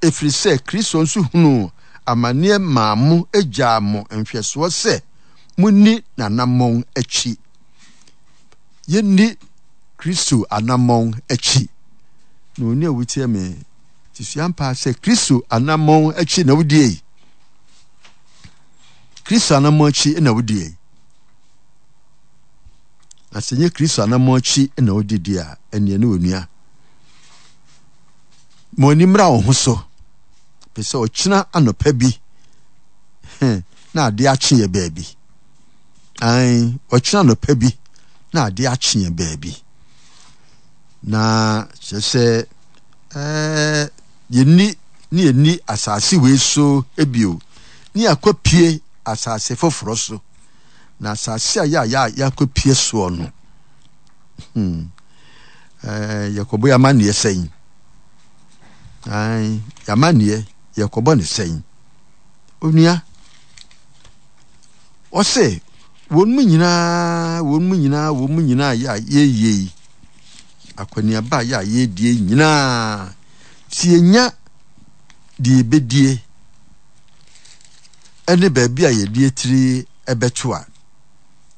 Ɛfiri sɛ Kristo nso hunuu amaneɛ maa mo gyaa mo nhwɛsoɔ sɛ monni n'anammɔn akyi. Yɛnni Kristo anammɔn akyi. Na onua a wotie me, te sua mpaa sɛ Kristo anammɔn akyi na wodie yi. Kristo anammɔn akyi na wodie yi. Na sɛ nyɛ Kristo anammɔn akyi na wodi di a, ɛneɛ ne onua. Ma w'ani mmra wo ho so. Pɛ sɛ ɔkyena anɔpa bi na ade akye yɛ baabi. Ae, ɔkyena anɔpa bi na ade akye yɛ baabi. Na kyerɛ sɛ ɛɛ yɛnni ne yɛnni asase wei so bio ne yɛakɔpie asase foforɔ so. Na asase a yɛ a yɛakɔpie soɔ no, hmm, ɛɛ yɛkɔbɔ yɛn amanneɛ sɛn? Ae, yɛn amanneɛ yɛkɔbɔ ne sɛn? Onua, ɔse wɔn mu nyinaa, wɔn mu nyinaa, wɔn mu nyinaa yɛ a yɛyie yi, akɔneaba a yɛ a yɛdie nyinaa, sɛ yɛnya deɛ yɛbɛdie ɛne baabi a yɛde atiri ɛbɛto a,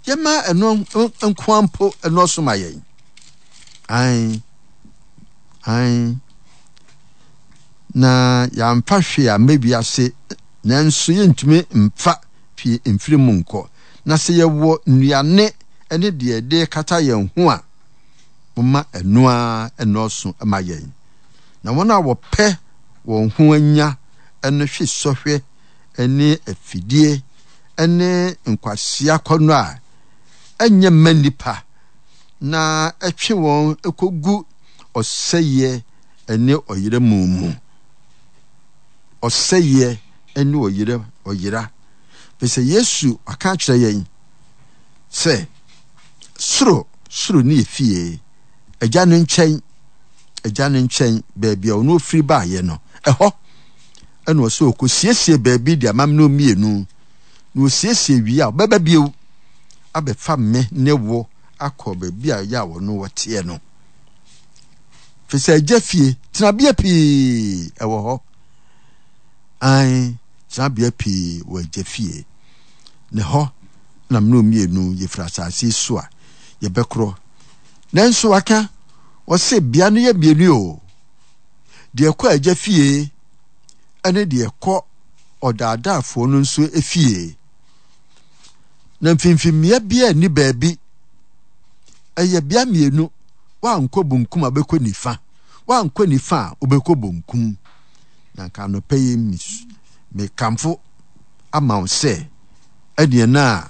yɛma ɛno nkoa mpo ɛnɔɔso ma yɛn. Ae, ae. Na yɛamfa hwee amma wiase, nanso yɛntumi mfa pii mfiri mu nkɔ. Na sɛ yɛwɔ nnuane ne deɛ yɛde rekata yɛn ho a, momma ɛno ara nnɔɔso ma yɛn. Na wɔn a wɔpɛ wɔn ho anya no hwe sɔhwɛ ne afidie ne nkwasea akɔnnɔ a ɛnyɛ mma nnipa, na ɛtwe wɔn kɔgu ɔsɛeɛ ne ɔyera mu mu. Ɔsɛeɛ ne ɔyera, ɔyera. Firi sɛ Yesu aka akyerɛ yɛn sɛ soro, soro ne efie, Agya no nkyɛn, Agya no nkyɛn, baabi a ɔno ofiri baeɛ no, ɛhɔ ɛna ɔsɛ ɔkɔsiesie baabi de ama me mmienu, na ɔsiesie wie a ɔbɛba bio abɛfa me ne wo akɔ baabi a yɛ a ɔno wɔteɛ no. Firi sɛ Agya fie, tenabea pii ɛwɔ hɔ. Ae, tenabea pii wɔ Agya fie. Ne hɔ na mene mmienu yɛfiri asase so a yɛbɛkorɔ. Nanso waka, ɔse bea no yɛ mmienu o. Deɛ ɛkɔ Agya fie ɛne deɛ ɛkɔ ɔdaadaafoɔ no nso fie. Na mfimfimmeɛ biara nni baabi. Ɛyɛ bea mmienu. Woankɔ bonkum a wobɛkɔ nifa. Woankɔ nifa a wobɛkɔ bonkum. Na nka anɔpa yi mekamfo ama wo sɛ ɛdeɛ no a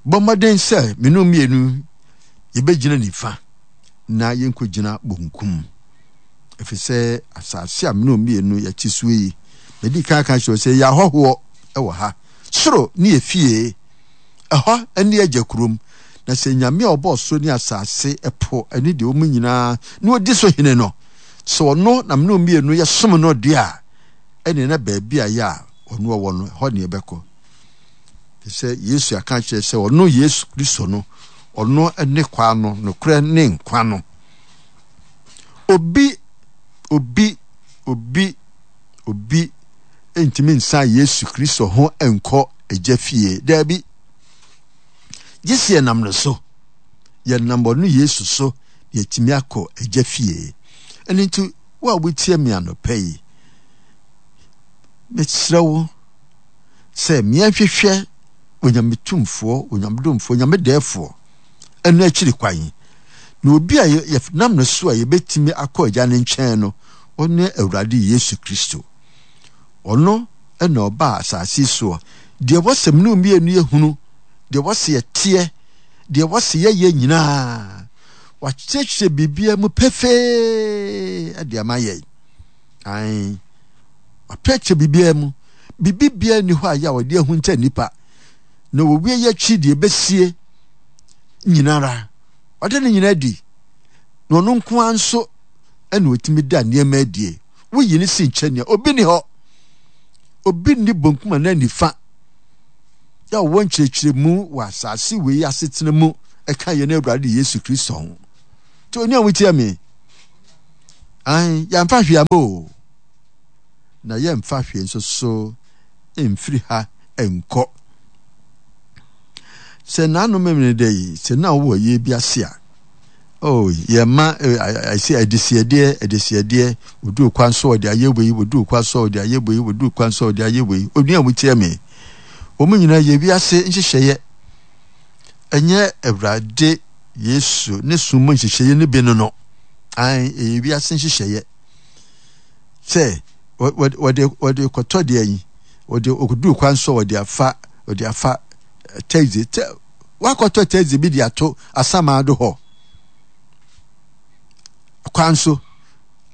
bɔ mmɔden sɛ mene mmienu yɛbɛgyina nifa na yɛnkɔgyina bonkum. Ɛfiri sɛ asase a mene mmienu yɛte soɔ yi, madi kan aka kyerɛ sɛ yɛyɛ ahɔhoɔ wɔ ha. Soro ne yɛ fie, ɛhɔ ne agya kurom. Na sɛ Nyame a ɔbɔɔ soro ne asase, ɛpo ne deɛ ɛwɔ mu nyinaa na ɔdi so hene no, sɛ ɔno na mene mmienu yɛsom no deɛ a, ɛneɛ na baabi a yɛ a ɔno ɔwɔ no, ɛhɔ ne yɛbɛkɔ. Te sɛ Yesu aka akyerɛ sɛ ɔno Yesu Kristo no, ɔno ne kwan no, nokorɛ ne nkwa no. Obi, obi, obi, obi ntumi nsan Yesu Kristo ho nkɔ Agya fie. Daabi. Gye sɛ yɛnam no so. Yɛnam ɔno Yesu so na yɛatumi akɔ Agya fie. Ɛno nti, wo a wotie me anɔpa yi, mesrɛ wo sɛ meɛnhwehwɛ Onyame tumfoɔ, Onyame domfoɔ, Onyame dɛɛfoɔ ɛno akyiri kwan. Na obi a yɛnam no so a yɛbɛtumi akɔ Agya no nkyɛn no, ɔne Awurade Yesu Kristo. Ɔno na ɔbaa asase soɔ. Deɛ wɔsɛ mene mmienu yɛhunu, deɛ wɔsɛ yɛteɛ, deɛ wɔsɛ yɛyɛ nyinaa, wakyerɛkyerɛ biribiara mu pefee de ama yɛn. Ae, wakyerɛkyerɛ biribiara mu. Biribi biara nni hɔ a yɛ a ɔde ahunta nnipa. Na wɔwie yɛ akyi deɛ ɛbɛsie nyinara, ɔde ne nyinaa di. Na ɔno nko ara nso ɛna ɔtumi da nneɛma adie. Woyi ne si nkyɛn nea obi ni hɔ. Obi nni bonkum anaa nifa yɛ ɔwɔ nkyerɛkyerɛmu wɔ asase wei asetena mu ɛka yɛn Awurade Yesu Kristo ho. Nti onua wotie me. Ae, yɛamfa hwee ama o. na yɛmfa hwee nso so mfiri ha nkɔ. Sɛ nanom mmere da yi, sɛ na wowɔ yie bi ase a, oh, yɛma ɛsɛ adesiedeɛ, adesiedeɛ, wɔduru kwan so wɔde ayɛ wei, wɔduru kwan so wɔde ayɛ wei, wɔduru kwan so wɔde ayɛ wei. Onua a wotie me, wɔn nyinaa yɛ wiase nhyehyɛeɛ. Ɛnyɛ Awurade Yesu ne som mu nhyehyɛeɛ no bi no no. Ae, ɛyɛ wiase nhyehyɛeɛ. Sɛ wɔde wɔde kɔtɔ deɛ yi, wɔde ɔduru kwan so wɔde afa wɔde afa taxi tɛ wakɔtɔ taxi bi de ato asamado hɔ kwan so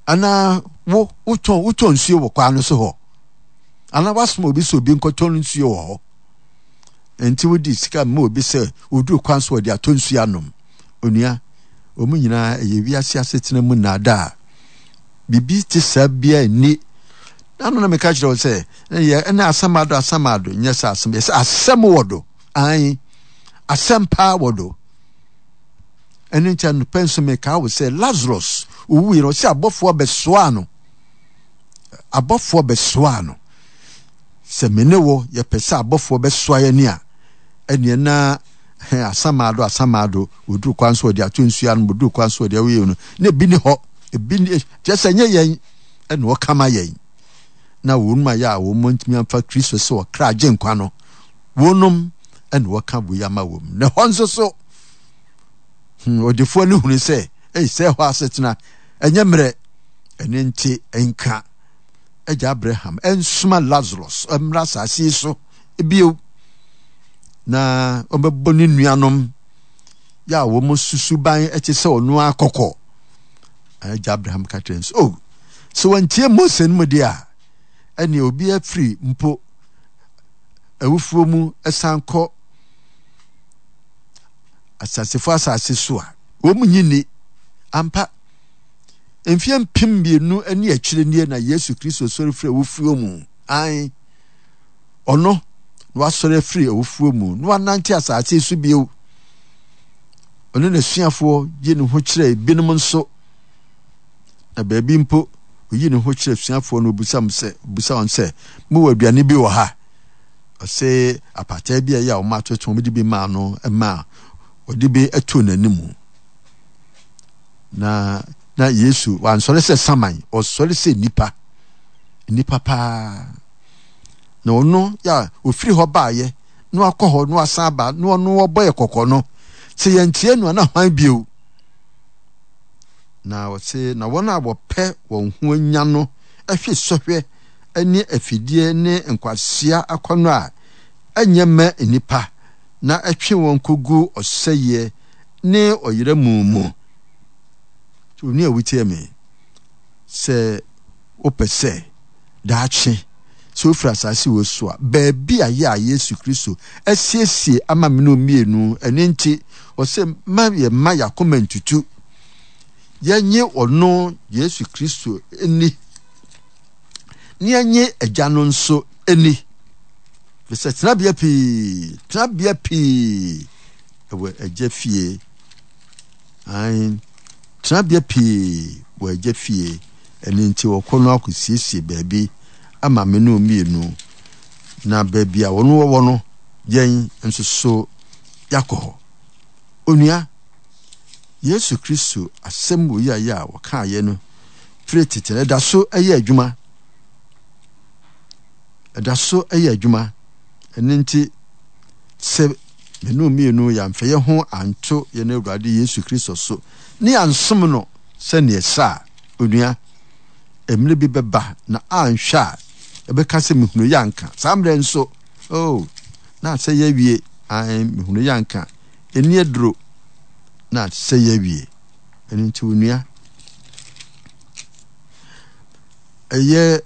anaa wo wotɔn wotɔn nsuo wɔ kwan no so hɔ anaa wasoma obi sɛ obi nkɔtɔn nsuo wɔ hɔ nti wodi sika ma obi sɛ oduru kwan so wɔde atɔ nsuo anom onua wɔn nyinaa ɛyɛ wiase asetena mu nnaadaa biribi te saa biara nni na no na meka kyerɛ wo sɛ yɛ ɛna asɛm ado asɛm ado nyɛ sɛ asɛm yɛ sɛ asɛm wɔ do ae asɛm paa wɔ do ɛno nti anɔpɛ nso meka wo sɛ Lazarus owui no ɔsɛ abɔfoɔ bɛsoaa no abɔfoɔ bɛsoaa no sɛ me ne wo yɛpɛ sɛ abɔfoɔ bɛsoa yɛn a ɛneɛ na asamado asamado wɔduru kwan so wɔde ato nsuo ano wɔduru kwan so wɔde awoyɛ no na ebi ne hɔ ebi ne kyerɛ sɛ nyɛ yɛn ɛna ɔka ma yɛn na wɔn ayɛ a wɔn ntumi amfa Kristo sɛ ɔkra agye nkwa no wɔnom ɛna wɔka wei ama wɔn na ɛhɔ nso so hmm, ɔdefoɔ no hunu sɛ ei sɛ ɛhɔ asetena ɛnyɛ mmerɛ ɛne nti nka agya Abraham ɛnsoma Lazarus mmra asase yi so bio na ɔbɛbɔ ne nuanom yɛ a wɔn susuban ɛte sɛ ɔno akɔkɔ agya Abraham ka kyerɛ nso oh sɛ wɔntie Mose no mu deɛ a ɛne obi afiri mpo awufoɔ mu ɛsan kɔ asasefo asase so a wɔn nyi ni ampa mfeɛ 2000 ne akyire nie na Yesu Kristo sɔre firi awufoɔ mu ae ɔno na wasɔre afiri awufoɔ mu na wanante asase so bio. Ɔne n'asuafoɔ yi ne ho kyerɛ binom nso. Na baabi mpo, oyi ne ho kyerɛ asuafoɔ no, obisa sɛ, obisa wɔn sɛ, mowɔ aduane bi wɔ ha? Ɔse apataa bi a ɛyɛ a wɔn atoto wɔn de bi maa no maa ɔde bi too n'anim. Na na Yesu wansɔre sɛ saman, ɔsɔre sɛ nipa, nipa paa. Na ɔno yɛ a ɔfiri hɔ baeɛ na wakɔ hɔ na wasan aba na ɔno ɔbɔ yɛ kɔkɔ no, sɛ yɛntie no a na hwan bio? Na ɔse na wɔn a wɔpɛ wɔn ho anya no hwe sɔhwɛ ne afidie ne nkwasea akɔnnɔ a ɛnyɛ mma nnipa na ɛtwe wɔn kɔgu ɔsɛeɛ ne ɔyera mu mu. Onua a wotie me, sɛ wopɛ sɛ daakye, sɛ wofiri asase wei so a, baabi a yɛ a Yesu Kristo asiesie ama me no mmienu, ɛno nti, ɔsɛ ma yɛ mma yɛakoma ntutu. Yɛnye ɔno Yesu Kristo nni, na yɛnye Agya no nso nni. Fisɛ tenabea pii, tenabea pii ɛwɔ Agya fie. Ae, tenabea pii wɔ Agya fie. Ɛno nti wɔkɔ no akɔsiesie baabi ama me ne wɔn mmienu, na baabi a wɔn wɔwɔ no, yɛn nso so yɛakɔ hɔ. Onua, Yesu Kristo asɛm wɔ yi a yɛ a wɔkaeɛ no firi tete no, ɛda so yɛ adwuma. Ɛda so yɛ adwuma. Ɛno nti, sɛ me ne mmienu yɛamfa yɛn ho anto yɛn Awurade Yesu Kristo so ne yɛansom no sɛnea ɛsɛ a, onua, mmerɛ bi bɛba na anhwɛ a, ɛbɛka sɛ mehunu yɛ anka. Saa mmerɛ nso, oh, na asɛ yɛ awie. Ae, mehunu yɛ anka. Ɛni aduro, na asɛ yɛ awie. Ɛno nti, onua, ɛyɛ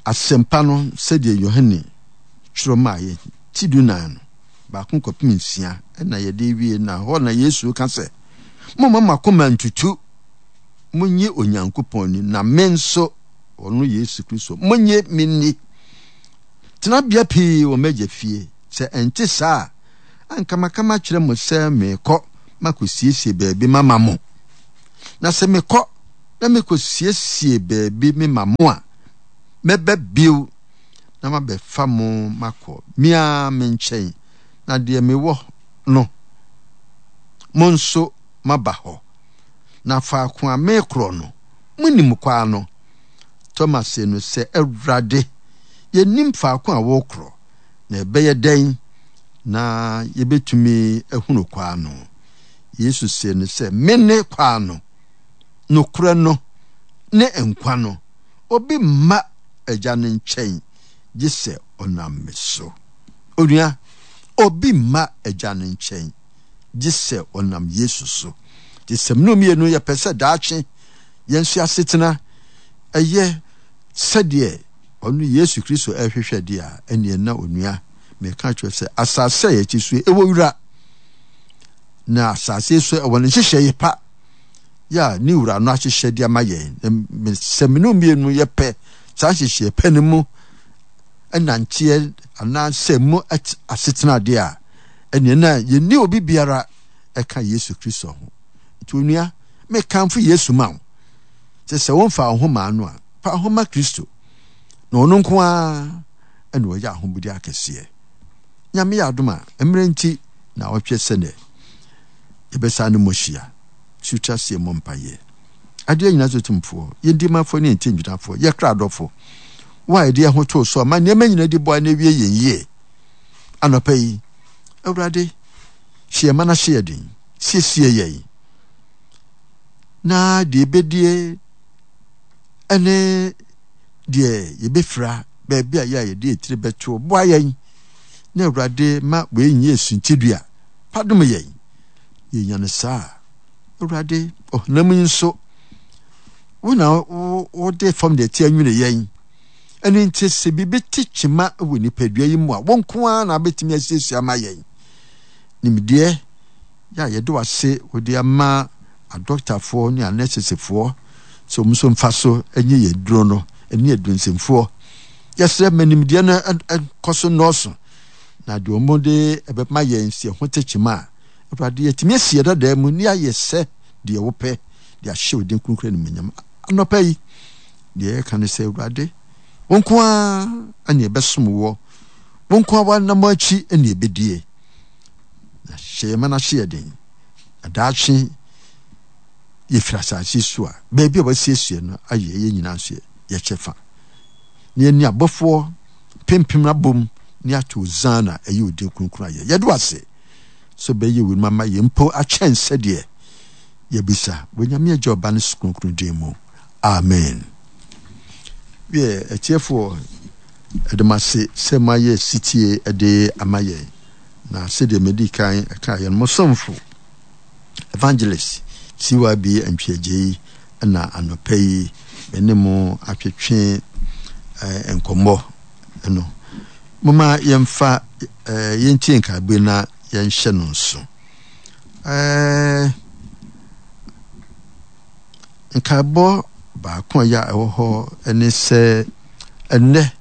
asɛmpa no sɛdeɛ Yohane twerɛ maa yɛ ti 14 no, 1 kɔpem 6 ɛna yɛde wie na hɔ na Yesu ka sɛ, Momma mo akoma ntutu. Monnye Onyankopɔn nni, na me nso, ɔno Yesu Kristo, monnye me nni. Tenabea pii wɔ m'agya fie. Sɛ ɛnte saa a, anka maka makyerɛ mo sɛ merekɔ makosiesie baabi mama mo. Na sɛ mekɔ na mekosiesie baabi mema mo a, Mɛba bio na mabɛfa mo makɔ me ara me nkyɛn, na deɛ mewɔ no, mo nso moaba hɔ. Na faako a merekorɔ no, monim kwan no. Toma see no sɛ, Awurade, yɛnnim faako a worekorɔ, na ɛbɛyɛ dɛn na yɛbɛtumi ahunu kwan no? Yesu see no sɛ, Mene kwan no, nokorɛ no, ne nkwa no. Obi mma Agya no nkyɛn gye sɛ ɔnam me so. Onua, obi mma Agya no nkyɛn gye sɛ ɔnam Yesu so. Gye sɛ mene mmienu yɛpɛ sɛ daakye yɛn nso asetena ɛyɛ sɛdeɛ ɔno Yesu Kristo ɛrehwehwɛ deɛ a, ɛneɛ na onua, meka kyerɛ sɛ asase a yɛte so ɛwɔ wura, na asase so ɛwɔ ne nhyehyɛeɛ pa yɛ a ne wura no ahyehyɛ de ama yɛn. Sɛ mene mmienu yɛpɛ saa nhyehyɛeɛ pɛ no mu nanteɛ anaasɛ mu asetena deɛ a, ɛneɛ na yɛnni obi biara ɛka Yesu Kristo ho. Nti onua, mekamfo Yesu ma wo sɛ sɛ womfa wo ho maa no a, fa wo ho ma Kristo, na ɔno nko ara ɛna ɔyɛ ahobodi akɛseɛ. Nyame yɛ adom a, mmerɛ nti na ɔtwe sɛ nɛ yɛbɛsa ne mo hyia. Sutra seɛ mmɔ mpaeɛ. Adeɛ nyinaa so tumfoɔ, yɛn dimafoɔ ne yɛn nkyɛngyinafoɔ, yɛ kra dɔfo, wo a yɛde yɛn ho too so ma nneɛma nyinaa di boa na ewie yɛn yie. Anɔpa yi, Awurade, hyɛ yɛn ma no ahyɛ yɛn den, siesie yɛn na deɛ yɛbɛdie ne deɛ yɛbɛfira baabi a yɛ a yɛde yɛn tiri bɛto boa yɛn na Awurade ma wei nyɛ suntidua fa dom yɛn. Yɛnya no saa a, Awurade, ɔhonam yi nso, wo na wode fam deɛ ɛte anwene yɛn. Ɛno nti sɛ biribi te kyema wɔ nipadua yi mu a, wo nko ara na wobɛtumi asiesie ama yɛn. Nimdeɛ yɛ a yɛde wase wode ama adɔktafoɔ ne anɛsesefoɔ sɛ wɔn nso mfa so nye yɛn duro no ne aduronsɛmfoɔ. Yɛsrɛ ma nimdeɛ no nkɔ so nnɔɔso na deɛ wɔn de ɛbɛma yɛn sɛ ɛho te kyema a, Awurade, yɛatumi asi yɛn dadaa mu ne ayɛ sɛ deɛ wopɛ de ahyɛ wo din kronkron animuonyam. Anɔpa yi, deɛ yɛka ne sɛ, Awurade, wo nko ara ne yɛbɛsom woɔ, wo nko ara w'anammɔn akyi ne yɛbɛdie. Na hyɛ yɛn ma no ahyɛ yɛ den, na daakye yɛfiri asase so a, baabi a wasiesie no ayɛ yɛn nyinaa nso yɛ kyɛfa. Na yɛne abɔfoɔ mpempem abom ne ato Hosanna ɛyɛ wo din kronkron ayɛ. Yɛde wo ase sɛ ɔbɛyɛ weinom ama yɛn mpo akyɛn sɛdeɛ yɛabisa wɔ Nyame Agya Ɔba ne Susu Kronkron din mu. Amen. Wiɛ, atiefoɔ, ɛde mo ase sɛ moayɛ sitie de ama yɛn. Na sɛdeɛ medi kan kaeɛ no, mo somfo, Evangelist CYB Antwi-Agyei na anɔpa yi me ne mo atwetwe eh, nkɔmmɔ no. Momma yɛmfa eh, yɛntie nkaebɔ yi na yɛnhyɛ no nso. Eh, nkaebɔ baako a ɛyɛ a ɛwɔ hɔ ne sɛ ɛnnɛ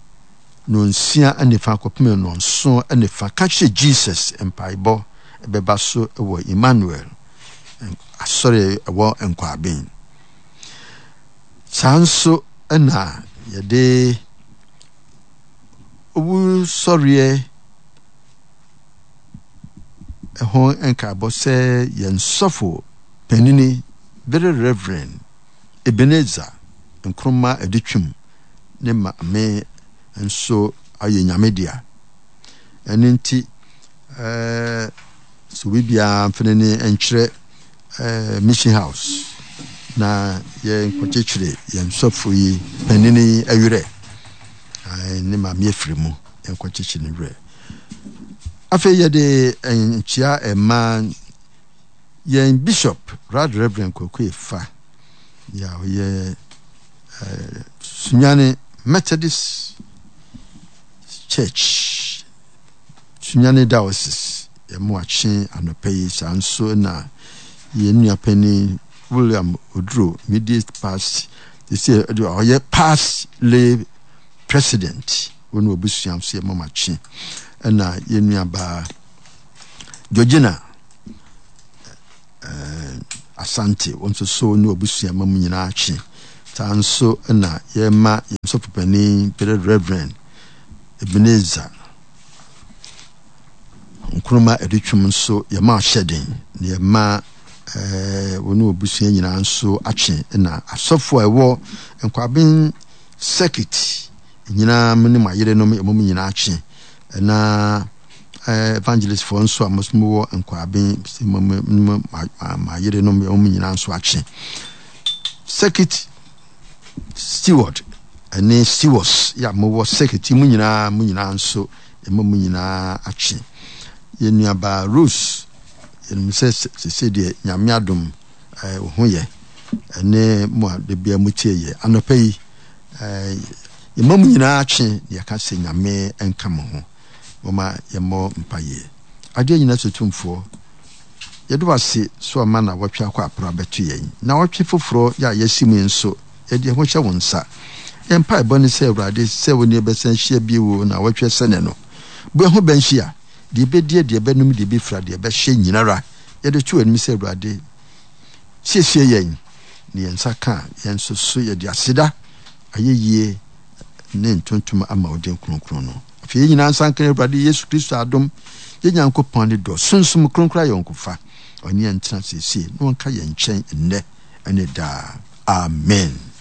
nonsia ne fa kɔpem nɔnson ne fa ka kyerɛ Jesus mpaebɔ ɛbɛba so wɔ Emmanuel asɔre ɛwɔ Nkwaben. Saa nso na yɛde owusɔreɛ ho nkaebɔ sɛ yɛn sɔfo panini Very Reverend Ebenezer Nkrumah Adutwum ne maame nso ayɛ Nyame dea. Ɛno nti ɛɛ sɛ obi biara mfa n'ani nkyerɛ ɛɛ Mission House na yɛnkɔkyekyere yɛn sɔfo yi panini yi werɛ. Ne maame afiri mu, yɛnkɔkyekyere ne werɛ. Afei yɛde nkyia ɛma yɛn Bishop Right Reverend Kwaku Efa yɛ a ɔyɛ Sunyani Methodist Church Sunyani Diocese yɛn akye anɔpa yi saa nso na yɛn nua panin William Oduro immediate past sɛ ɔyɛ past lay president wɔn abusua nso yɛ mama kye ɛna yɛn nua baa Georgina eh, Asante wɔn nso so ne abusua ma mu nyinaa kye. Saa nso na yɛma yɛn sɔfopanin Bere Reverend Ebenezer Nkrumah Adutwum nso yɛma ahyɛden na yɛma eh, wɔne wɔbusua nyinaa nso atwe na asɔfo a ɛwɔ Nkwaben circuit nyinaa mo ne mo ayerenom yɛma mo nyinaa atwe na eh, evangelistfoɔ nso a mo wɔ Nkwaben mo mo mo ayerenom yɛma mo nyinaa nso atwe Circuit steward ne stewards yɛ a mowɔ circuit yi mu nyinaa mo nyinaa nso yɛma mo nyinaa akye. Yɛn nuabaa Rose yɛnim sɛ sese deɛ Nyame adom eh, wo ho yɛ ɛne mo a da bia motie yɛ anɔpa yi eh, yɛma mo nyinaa akye na yɛka sɛ Nyame nka mo ho. Moma yɛmmɔ mpaeɛ. Adeɛ nyina so tumfoɔ Yɛda wo ase sɛ wama nnawɔtwe akɔ apere abɛto yɛn. Nnawɔtwe foforɔ yi a yɛasi mu yi nso, yɛde yɛn ho hyɛ wo nsa. Yɛn mpaebɔ ne sɛ, Awurade, sɛ wo ne yɛn bɛsan ahyia bio wɔ nnawɔtwe sɛnɛ no. Bɔ yɛn ho bɛn hyia. Deɛ yɛbɛdie, deɛ yɛbɛnom, deɛ yɛbɛfira, deɛ yɛbɛhyɛ nyinara, yɛde to w'anim sɛ, Awurade, siesie yɛn, na yɛn nsa ka a, yɛn nso so yɛde aseda, ayɛyie, ne ntontom ama wo din kronkron no. Afei yɛn nyinaa nsa nka Awurade Yesu Kristo adom, yɛn Nyankopɔn ne dɔ, Sunsum Kronkron ayɔnkofa, ɔne yɛn ntena seesei na ɔnka yɛn nkyɛn nnɛ ne daa. Amen.